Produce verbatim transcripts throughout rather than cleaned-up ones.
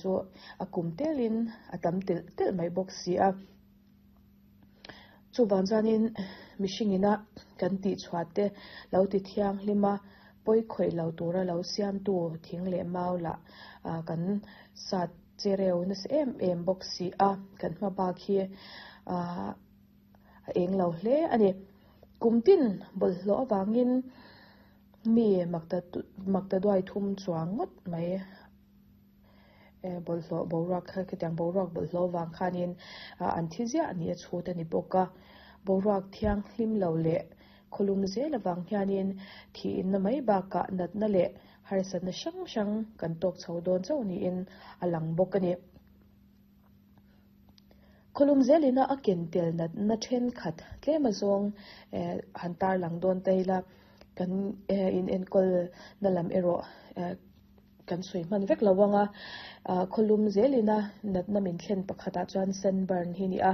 Chu a kum telin a tam telh telh mai bawk si a. Chuvang chuanin mihring ina kan tih chhuah te lo ti thianghlim a, pawi khawih lo tura lo siamtu thing leh mau lah kan sat chereu nasa em em bawk si a, kan hma bak hi a eng lo hle a ni. Kum tin bawlhhlawh avangin mi makta duai thum chuang ngawt mai bawlhhlawh boruak kha khitiang boruak bawlhhlawh avang khanin an thi ziah ni a chhut a ni bawk a. Boruak thianghlim lo leh khawlum zel avang hianin thiinna mai bakah natna leh harsatna hrang hrang kan tawk chho dawn chauh niin a lang bawk a ni. Khawlum zelina a ken tel natna thenkhat tlem azawng han tarlang dawn ta ila kan in enkawl na lam erawh kan sawi hman vek lo anga khawlum zelina natna min thlen pakhatah chuan sunburn hi ni a,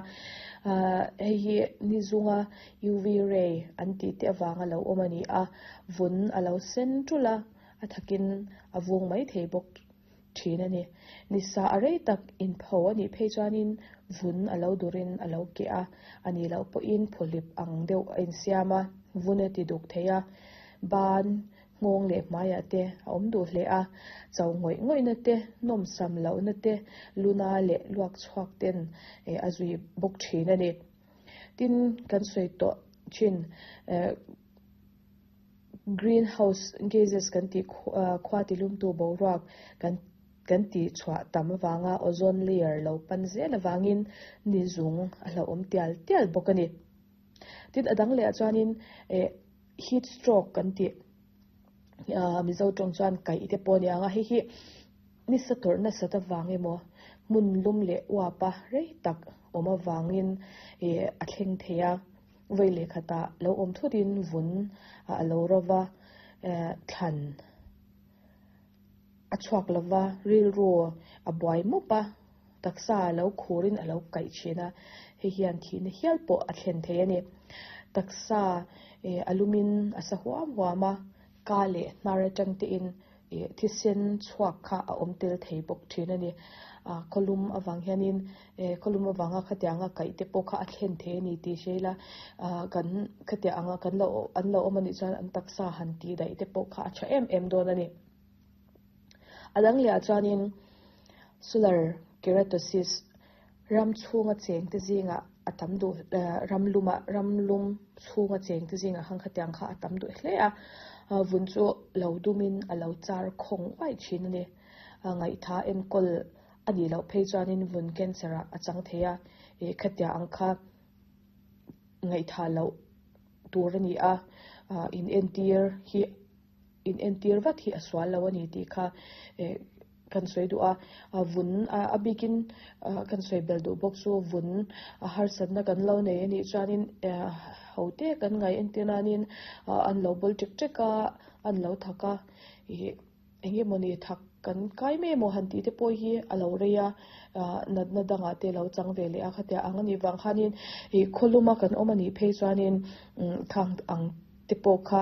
hei hi ni zunga U V ray an tih te avanga lo awm a ni a, vun a lo sen tul a, a thakin a vung mai thei bawk thin a ni. Nisa a rei tak inpho a nih phei chuanin vun a lo durin a lo keh a, a nih loh pawhin phuhlip ang deuh a insiam a, vun a ti duk thei a, ban nghawng leh hmaiah te a awm duh hle a, cho ngawih ngawihna te, nawm sam lohna te, luna leh luak chhuak ten a zui bawk thin a ni. Tin kan sawi tawh thin greenhouse gases kan tih khua tilumtu boruak kan kan ti chhuah tam awanga ozone layer lo pan zel awangin ni zung a hlauhawm tial tial bawk a ni. Tin a dang leh ah chuanin heat stroke kan tih Mizo tawng chuan kaih te pawh a ni ang a, hei hi nisa tawrh nasat avang emaw hmun lum leh uap a rei tak awm avangin a thleng thei a, vawi leh khatah lo awm thutin vun a lo rova thlan a chhuak lova rilru a buai mup a, taksa a lo khurin a lo kaih thin a, hei hian thihna hial pawh a thlen thei a ni. Taksa a lumin a sa huam huam a, ka leh hnar atang tein thisen chhuak kha a awm tel thei bawk thin a ni. Khawlum avang hianin khawlum avanga khatianga kaih te pawh kha a thlen thei a ni tih hre ila, kan khatia anga kan lo an lo awm anih chuan an taksa han tih daih te pawh kha a tha em em dawn a ni. A dang leh ah chuanin solar keratosis ram chhunga cheng te zingah a tam duh ram lumah ram lum chhunga cheng te zingah khan khatiang kha a tam duh hle a, vun chu lo dumin a lo char khawng uai thin a ni. Ngaihtha enkawl a nih loh phei chuanin vun cancer ah a chang thei a, khatia ang kha ngaihtha loh tur a ni a, in entir hi in entir vat hi a sual lo a ni tih kha kan sawi duh a, vun a bikin kan sawi bel duh bawk chu vun a harsatna kan lo nei a nih chuanin ho te kan ngai entir nanin an lo bawl tek tek a, an lo thak a, engemawni thak kan kai mai emaw han tih te pawh hi a lo rei a, natna dangah te lo chang ve leh a, khatia ang a nih vang khanin khawluma kan awm a nih phei chuanin thang ang te pawh kha